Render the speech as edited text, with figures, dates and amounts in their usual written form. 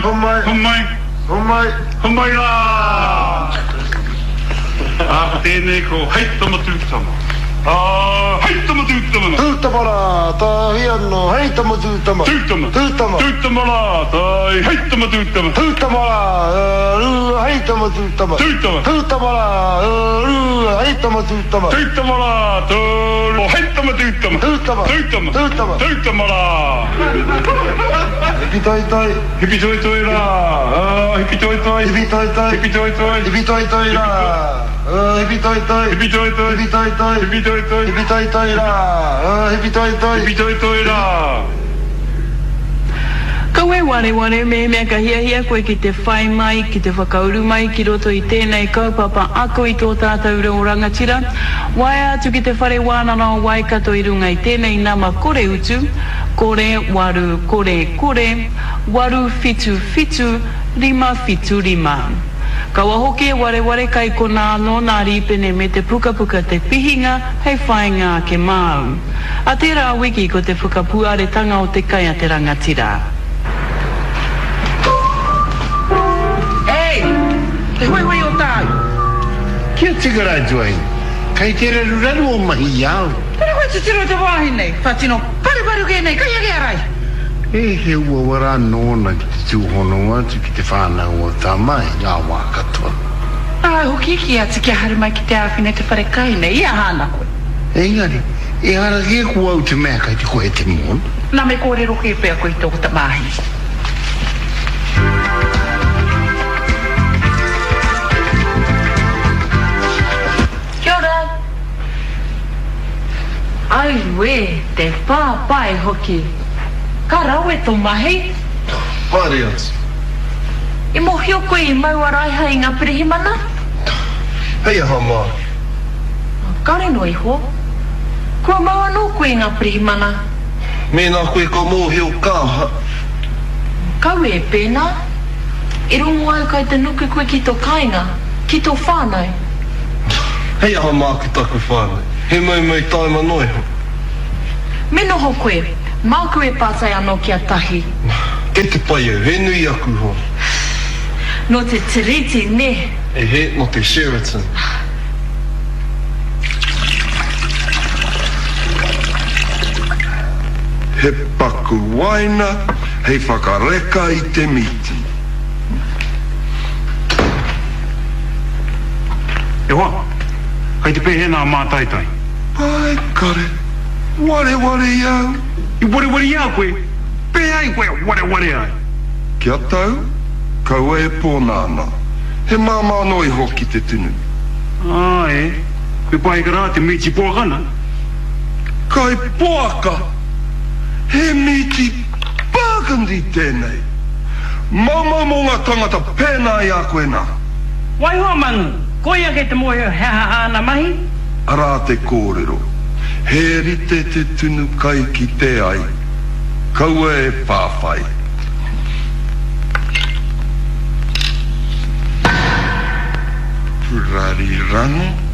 Homai. Homai. Homai. Homai. Homai rā! Ā, ko tēnei ko Hei Tama Tū Tama. Ā, hei tama tū tama nā. Tū tama rā, tāhi anō, hei tama tū tama. Tū tama. Tū tama. Tū tama rā, tāhi, hei tama tū tama. Tū tama rā, rua, hei tama tū tama. Tū tama. Tū tama rā, rua, hei tama tū tama. Tū tama rā, tō, hei tama tū tama. Tū tama. Tū tama. Tū tama. Tū tama rā. Hipi toi toi. Hipi toi toi rā, ā, hipi toi toi. Hipi toi toi. Hipi toi toi. Hipi toi toi rā, ā, hipi toi toi. Hipi toi toi. Hipi toi toi. Hipi toi toi. Hipi toi toi rā, ā, hipi toi toi. Hipi toi toi rā. Kaua e wareware mehemea ka hiahia koe ki te whai mai, ki te whakauru mai ki roto i tēnei kaupapa ako i tō tātou reo rangatira, waea atu ki te Whare Wānanga o Waikato i runga i tēnei nama kore utu, 0 8 0 0 8 7 7 5 7 5. Kaua hoki e wareware kai konā anō nā rīpene me te pukapuka Te Pihinga hei whāinga ake māu. A tērā wiki ko te whakapuaretanga o te kai a te rangatira. Ei! Te huihui o tāu! Kia tika rā Duane, kei te raruraru o mahi i a au. Tena koe titiro te wāhi nei, wha tino paruparu kē nei, kai ake a Rai. E he uaua rā nōna ki te tūhono atu ki te whānau o Tama i ngā wā katoa. Āe hoki, kī atu kia haere mai ki te āwhina i te whare kai nei, i aha ana koe? Engari, ehara kē ko au te mea kei te kohe te mōna. Nā, me kōrero kē pea koe i tō tamāhine. Kia ora! Auē, te pāpai hoki! Ka rawe to mahi! Haere atu. I mohio koe i mau a Raiha i nga pirihimana? Hei aha māku? Kare noa iho. Kua mau anō koe i nga pirihimana? Mēnā koe ka mōhio ka aha? Kaua e pēnā. I rongo au kai te nuku koe ki to kainga, ki to whānau. Hei aha māku taku whānau? He moumou taima noa iho. Me noho koe, māku e pātai anō ki a Tahi. Kei te pai au, he nui aku hoa. Nō te Tiriti, nē? E he, nō te Sheraton. He paku waina hei whakareka i te mīti. E hoa, kei te pēhea nā mātaitai? Āe kare, wareware i a au. I wareware i a koe? Pēhea ai koe wareware ai? Kia tau, kaua e pōnānā. He māmā noa iho ki te tunu. Āe, me pahika rā te mīti poaka nā. Kai poaka! He mīti burgundy tēnei! Maumau mō ngā tangata pēnā i a koe nā. Waiho a Mangu, koia kei te mōhio he aha āna mahi? Arā te kōrero, he rite te tunu kai ki te ai, kaua e whāwhai. Rarirango.